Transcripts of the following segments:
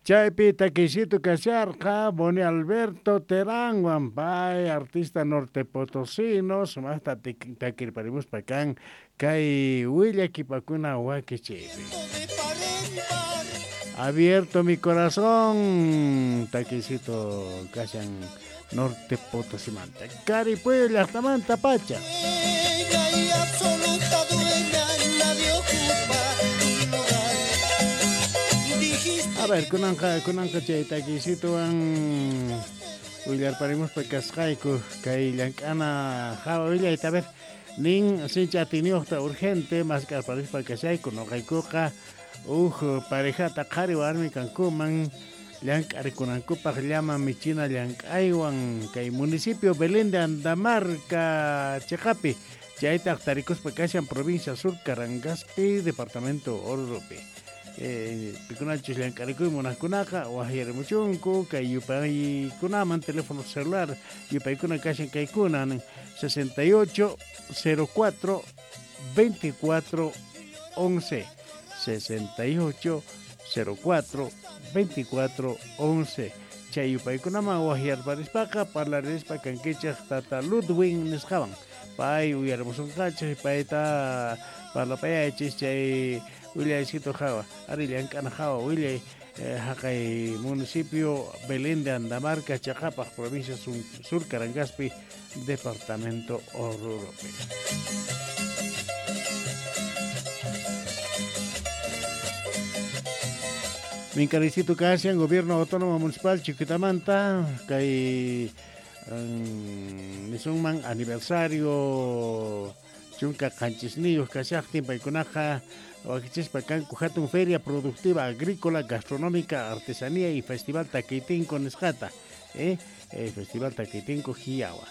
Chaypi takisito kasharqa Boni Alberto Terán pay artista norte potosino sumaqta takirparimuspa kan kay willakipakuna wakichiypi. Abierto mi corazón takisito kashan norte potosimanta Caripuyo llaqtamanta pacha. A ver, kunanqa chay takisituwan willarparimuspa kasqayku kay llank'ana hawa willayta. A ver, nin sincha atiniyuqta urgente mask'arparispa kashayku noqaykuqa uj parejata qhari warmi kankuman llank'arikunankupaq llama michina llank'aywan kay municipio Belén de Andamarca chiqapi chaytaq tarikuspa kashan provincia Sur Carangaspi departamento Oruropi. Pikunachus llank'arikuy munaqkunaqa waqyarimuchunku kay yupaykunaman teléfono celular yupaykuna kashan kaykuna 68 04 24 11 68 04 24 11 chay yupaykunaman waqyarparispaqa parlarispa kankichaq tata Ludwin nisqawan pay uyarimusunqachik payta parlapayachis chay willaychito hawa ari llank'ana hawa willay haqay municipio Belén de Andamarca Chaqapaq provincia Sur Carangaspi departamento Oruropi. Minkaricito kashan gobierno autónomo municipal Chuquitamanta kay nisunman aniversario chunka qanchisniyuq kashaqtin paykunaqa wakichispa kanku hatun feria productiva agrícola gastronómica artesanía y festival Takitinko nisqata festival Takitinko Jiawa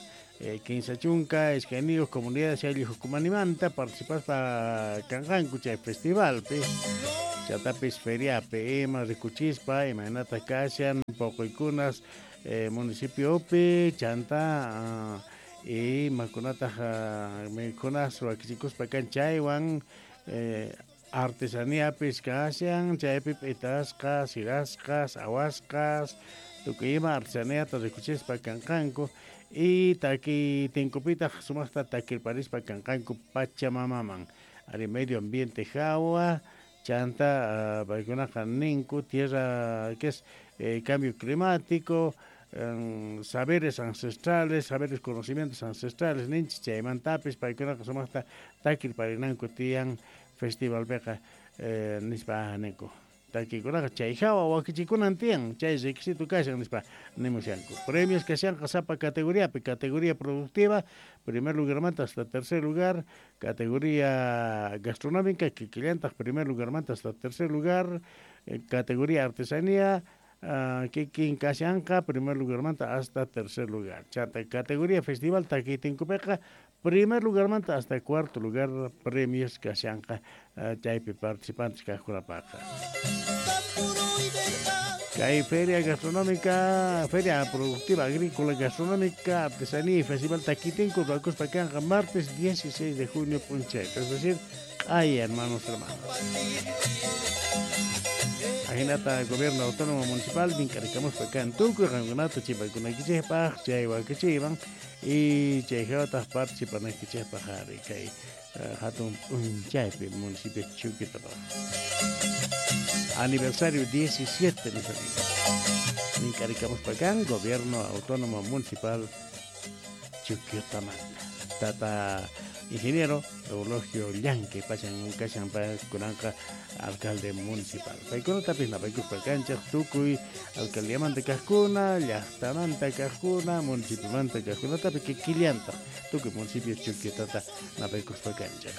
kinsa chunka iskayniyuq comunidades ayllu hukumanimanta participaspa kanqanku chay festivalpi chatapis feriapi ima rikuchispa imaynata kashan poquykunas municipiopi chanta imakunataq mikunas wakichikuspa kan chaywan artesaníapis kashan chaypi p'itasqas sirasqas awasqas tukuy ima artesaníata rikuchispa kanqanku y taki tinkupitaq sumaqta takirparispa kanqanku Pachamamaman ari medio ambiente hawa chanta paykunaqa ninku tierra que es cambio climático saberes ancestrales, saberes conocimientos ancestrales ninchis chaymantapis paykunaqa sumaqta takirparinanku tiyan festivalpiqa nispa ninku takikunaqa chay hawa wakichikunan tiyan chay requisito kashan nispa nimushanku premios kashanqa sapa categoriapi categoría productiva primer lugarmanta hasta tercer lugar categoría gastronómica kikillantaq primer lugarmanta hasta tercer lugar categoría artesanía kikin kashanqa primer lugarmanta hasta tercer lugar chanta categoría festival takitinkupiqa primer lugarmanta hasta cuarto lugar premios kashanqa chaypi participantes kaqkunapaqa. Kay feria gastronómica, feria productiva agrícola gastronómica, artesanía y festival Takitinko ruwakuspa kanqa martes 16 de junio p'unchaypi, es decir, ay hermanos hermanas. Ajinata gobierno autónomo municipal mink'arikamuspa kan tukuy qankunata chipaykunaykichikpaq chay wakichiyman y chay hawataq participanaykichikpaq ari kay hatun p'unchaypi municipio Chuquitapaq. Aniversario 17, mis amigos. Mink'arikamuspa kan gobierno autónomo municipal Chuquicamata. Tata ingeniero Eulogio Llanque pachan kashan kunanqa alcalde municipal. Paykunatapis napaykuspa kanchaq tukuy alcaldiamanta kaqkuna, llaqtamanta kaqkuna, municipiomanta kaqkunatapi kikillantaq tukuy municipio Chuquitata napaykuspa kanchaq.